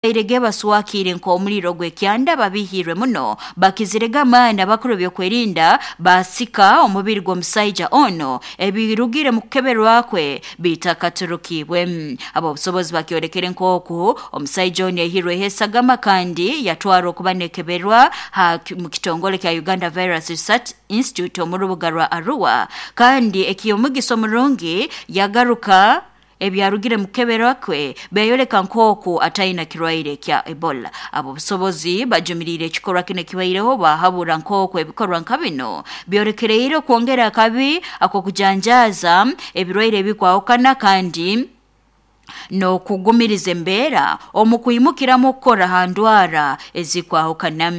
Irege baswakire nk'omuliro gw'ekyanda babihirwe muno bakizirega amaani abakuru byokwerinda basika omubiri gw'omusaija ono ebirugire mu kukeberwa kwe bitakaturukibwe. Abobusobozi bakyolekere nk'oku omusaija ono yaihirweho esagama kandi yatwarwa okuba nekeberwa mu kitongole kya Uganda Virus Research Institute omu rubuga rwa Arua, kandi eky'omugisa omurungi yagaruka ebyarugire mu kukeberwa kwe byayoleka nk'oku ataina kirwaire kya Ebola. Abobusobozi bajumiriire ekikorwa kinu ekibaireho bahabura nk'oku ebikorwa nka bino byolekereire okwongera akabi ak'okujanjaaza ebirwaire ebikwahukana kandi n'okugumiriza embeera omu kwimukiramu okukora ha ndwara ezikwahukana.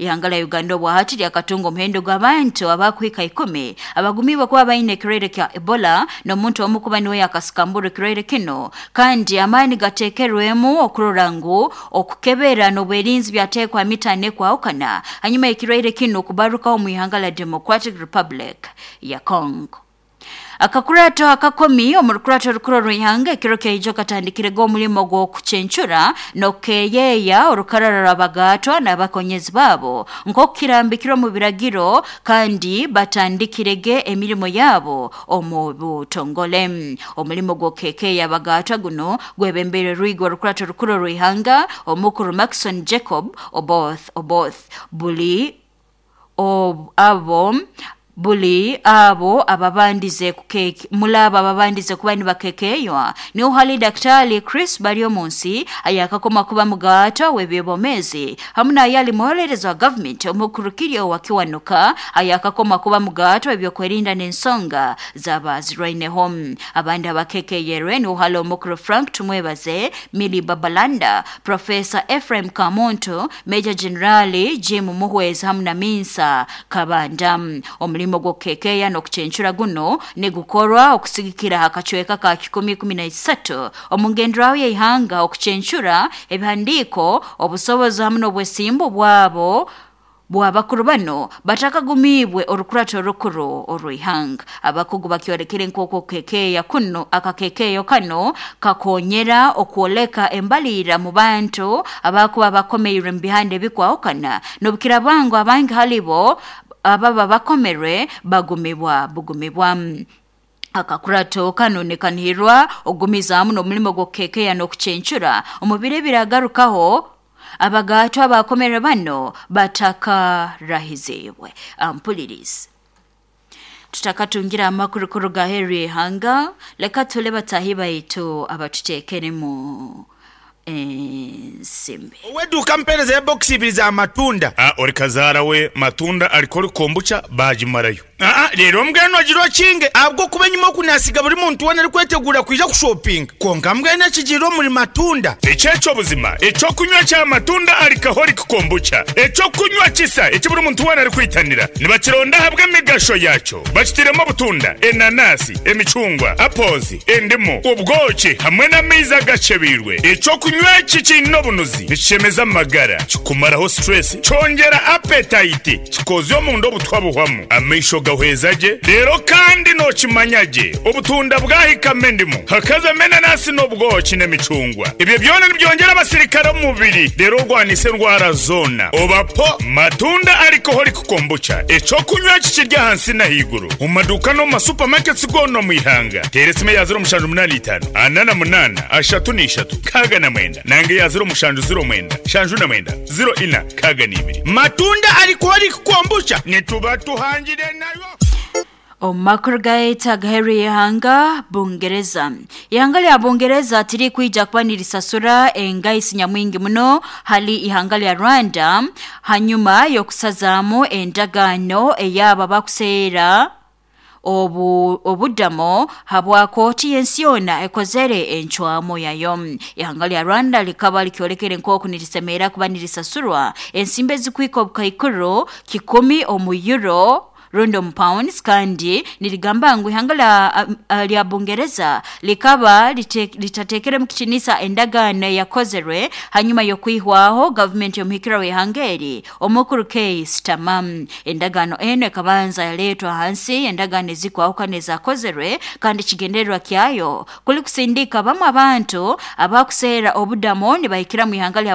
Ihanga lya Uganda obwahati lyakatunga omuhendo gw'abantu abakuhika 10 abagumiibwe kuba baine ekirwaire kya Ebola, n'omuntu omu kuba niwe yakasikambura ekirwaire kino, kandi amaani gateekerwemu okurora ngu okukebera n'obwerinzi byateekwa mitaano ekwahukana hanyuma ekirwaire kinu kubarukaho omu ihanga lya Democratic Republic ya Congo. Akakurato akakomi omu rukurato rukuru orw'ihanga ekiro kyaijo katandikirege omulimo gw'okucencura n'okukeeyeeya orukarara rw'abagatwa n'abakonyezi baabo nk'oku kirambikirwe omu biragiro, kandi batandikirege emirimo yaabo omu butongole. Omulimo gw'okukeekeeya abagatwa guno gwebembeire rwigo orukurato rukuru orw'ihanga omukuru Maxon Jacob Oboth Oboth. Buli abo ababandize mulabo ababandize kuba nibakekeywa niho hali Daktari Chris Baryomunsi ayakakoma kuba mugato w'ebyobwomeezi hamu n'ayali muholerezi wa gavumenti omukuru Kiryo Wakiwanuka ayakakoma kuba mugato w'ebyokwerinda n'ensonga z'abazirwaineho. Abandi abakekeyerwe niho hali omukuru Frank Tumwebaze, Milly Babalanda, Profesa Ephraim Kamuntu, Major Generali Jim Muhwezi hamu na Minsa Kabanda. Omulimo gw'okukekeya n'okucencura guno nigukorwa okusigikira akacweka ka 113 omu ngenderaho y'ihanga okucencura ebihandiiko, obusobozi hamu n'obwesimbu bwabo bw'abakuru bano batakagumiibwe orukurato orukuru orw'ihanga. Abakugu bakyolekere nk'oku okukekeya kuno akakekeyo kano kakonyera okwoleka embalirira mu bantu abakuba bakomeirwe mu bihanda ebikwahukana, n'obukirabango abangi halibo ababa bakomerwe bagumibwa bugumibwa. Akakurato kano nikanihirwa ogumizaamu n'omulimo gw'okukekeya n'okucencura omu biro ebiragarukaho abagatwa abakomerwe bano batakarahiziibwe. Ampulirizi tutakatungira amakuru kuruga aheeru y'ihanga, leka tule batahi baitu abatuteekeremu ensimbi. Ow'eduuka mpeereza ya bokisi ibiri za matunda. Ori kazaara we matunda ariko ori kombucha baagimarayo. Reero mbwenu ogira okinge ahabw'okuba enyima oku naasiga buri muntu weena arikweteguura kwija kushopinga. Kwonka mbwenu ekigiire omuri matunda. Ekyekyo buzima, eky'okunywa kya matunda alcoholic kombucha, eky'okunywa kisa eki buri muntu weena arikwitanira. Nibakironda ahabw'emigasho yaakyo. Bakitairemu obutunda, enanasi, emicungwa, apples, endimu, obwoki hamwe n'amaizi agakyebeirwe. Eky'okunywa eki kiine obunuzi, nikishemeza amagara, kikumaraho stress, kyongyera appetite, kikozya omunda obutwa buhwamu, amaisho gahweza gye, reero kandi nookimanya gye obutunda bwahikamu endimu, hakazamu enanasi n'obwoki n'emicungwa. Ebyo byona nibyongyera abasirikare omu mubiri reero orwanise endwara zoona. Oba po matunda alcoholic kombucha, eky'okunywa eki kiri ahansi n'ahaiguru omu maduuka n'omu ma supermarkets goona omu ihanga. Teera esimu eya 0785 48 33 69 nanga eya 0709 79 04 62. Matunda alcoholic kombucha nituba tuhangire nayo. Omu makuru gaitu agaheeru y'ihanga Bungereza. Ihanga lya Bungereza tirikwija kuba nirisasura engaisi nyamwingi muno hali ihanga lya Rwanda hanyuma y'okusazaamu endagaano ey'abo abakuseera obudamo habwa kooti y'ensi yoona ekozere encwamu yayo. Ihanga lya Rwanda likaba likyolekere nk'oku nirisemerera kuba nirisasurwa ensimbi ezikuhika obukaikuru 1,000 omu euro. Rundi omu pounds, kandi nirigamba ngu ihanga lya Bungereza likaba litatekeremu kitinisa endagaano eyakozerwe hanyuma y'okwihwaho gavumenti y'omuhikirwa w'ihanga eri omukuru Keir Starmer. Endagaano eno ekabanza yaleetwa hansi endagaano ezikwahukana ezakozerwe, kandi ekigendererwa kyayo kuli kusindika bamu abantu abakuseera obudamo nibahikira mu ihanga lya